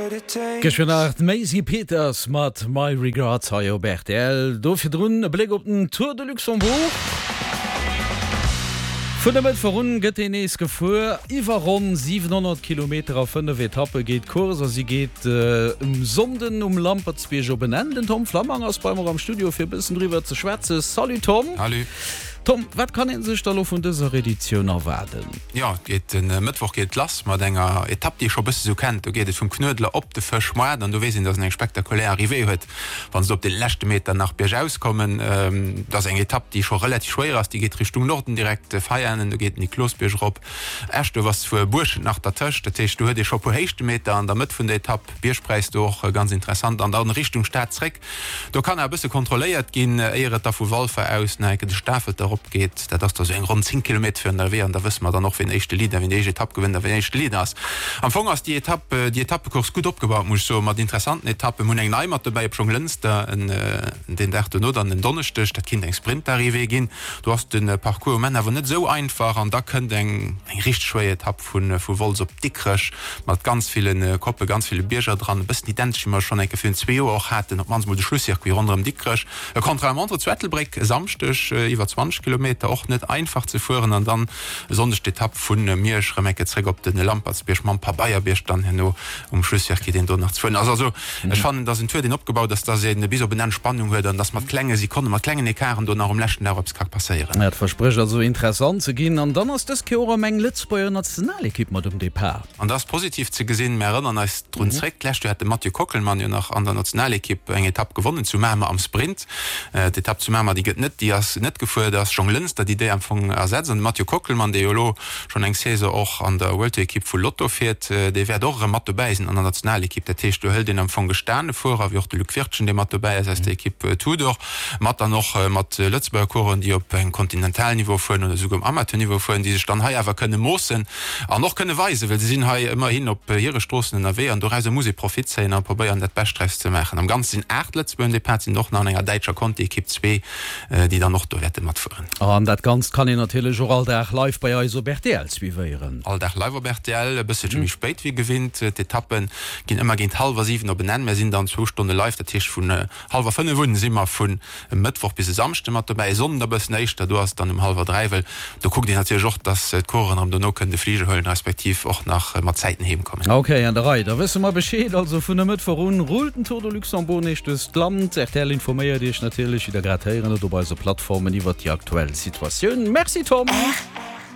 Gëscht nach d'Maisie Peters mat My Regards hei op rtl. Do virdrun e Bléck op den Tour de Luxembourg. Vun e Mëttwoch un gëtt deen nees gefuer. Iwwer ronn 700 Kilometer a 5 Etappe geet d'Course a si geet um Sonnden um Lampertsbierg op en Enn. Den Tom Flammang ass bei mer am Studio fir e bëssen driwwer ze schwätzen. Salut Tom. Salut. Tom, wat kann ee sech da lo vun dëser Editioun erwaarden? Jo, et geet de Mëttwoch geet et lass mat enger Etapp, déi ee scho e bësse sou kennt. Do geet et vum Knuedler op de Fëschmoart an do weess een, datt en eng spektakulär Arrivée huet, wann se do op de leschte Meter nach biergaus kommen. Dat ass eng Etapp, déi scho relativ schwéier ass. Déi geet Richtung Norden, direkt Veianen, do geet den Niklosbierg erop. Eschduerf ass zwuer Buerschent nach dertëscht, dat heescht, do huet ee scho e puer Héichtemeter an der Mëtt vun der Etapp. Biergpräis do och ganz interessant an dann Richtung Stad zréck. Do kann awer e bësse kontrolléiert ginn, éier et da vu Walfer aus nach eng Kéier de Stafelter erop geet. Dat ass da sou eng ronn 10 Kilometer virun der Arrivée an da wësse mer dann och, wien éischte Leader, wien déi éischt Etapp gewënnt a wien éischte Leader ass. Am Fong ass déi Etapp, déi Etappecourse gutt opgebaut, muss ech soen, mat interessanten Etappen. Mir hunn eng nei mat dobäi op Jonglënster den Dag dono, dann en Donneschdeg. Dat kinnt eng Sprintarrivée ginn. Do ass de Parcours um Enn awer net esou einfach an da kënnt eng richteg schwéier Etapp vu Wolz op Dikrech mat ganz ville Koppen, ganz ville Bierger dran, e bëssen identesch wéi mer schonn eng Kéier virun zwee Joer och haten, op d'mannst mol de Schlusscircuit ronderëm Dikrech. E Contre-la-montre zu Ettelbréck e Samschdeg, iwwer 20 Kilometer, och net einfach ze fueren an dann e Sonndeg d'Etapp vu Miersch erëm eng Kéier zréck op de Lampertsbierg mam Pabeierbierg dann herno um Schlusscircuit, deen do nach ze fueren ass. Also ech fannen, dass en Tour, deen opgebaut ass, dass ee bis op en Enn Spannung huet an dass mat klenge Sekonnen, mat klengen Ecarten do nach um leschten Dag eppes ka passéieren. Dat versprécht also interessant ze ginn. An dann ass dës Kéier och erëm eng Lëtzebuerger Nationalekipp mat um Depart. An dat ass positiv ze gesinn. Mir erënneren eis drun zréck, d'lescht Joer hat de Mathieu Kockelmann jo nach an der Nationalekipp eng Etapp gewonnen zu Mamer am Sprint. D'Etapp zu Mamer, déi gëtt net, déi ass net gefuer. Et ass Jonglënster, déi déi am Fong ersetzt. An de Mathieu Kockelmann, dee jo elo schonn eng Saison och an der World Tour Ekipp vu Lotto fiert, dee wäert och erëm mat dobäi sinn an der Nationalekipp. Dat heescht, do hëlt een am Fong gestane Fuerer, wéi och de Luc Wirtgen, dee mat dobäi ass aus der Ekipp Tudor, mat dann och mat Lëtzebuerger Coureuren, déi op engem Kontinentalniveau fueren oder esouguer um Amateurniveau fueren, déi sech dann hei awer kënne moossen an och kënne weisen, well se sinn hei ëmmerhin op hire Stroossen ënnerwee an dorauser muss ee Profit zéien a probéieren, dat Bescht draus ze maachen. Am Ganze sinn 8 Lëtzebuerger um Depart, sinn och nach an enger däitscher Conti-Ekipp zwee, déi dann och do wäerte matfueren. An dat Ganzt kann een natierlech och all Dag live bei eis op rtl suivéieren. All Dag live op rtl, e bësselche méi spéit wéi gewinnt. D'Etappe ginn ëmmer géint hallwer 7 op en Enn. Mär sinn dann zwou Stonne live, dat heescht vun hallwer 5 un si mer vun e Mëttwoch bis e Samschde mat dobäi. E Sonnden e bëssen éischter, do ass et dann um hallwer 3, well do kuckt een natierlech och, dass d'Coureuren erëm dono kënnen de Fliger huelen, respektiv och nach mat Zäiten heem kommen. Ok, an der Rei, da wësse mer Bescheed. Also vun e Mëttwoch un rullt den Tour de Luxembourg nees duerch d'Land. Rtl informéiert Iech natierlech, wéi der grad héieren hutt, op eise Plattformen iwwert déi aktuell Situatioun. Merci Tom!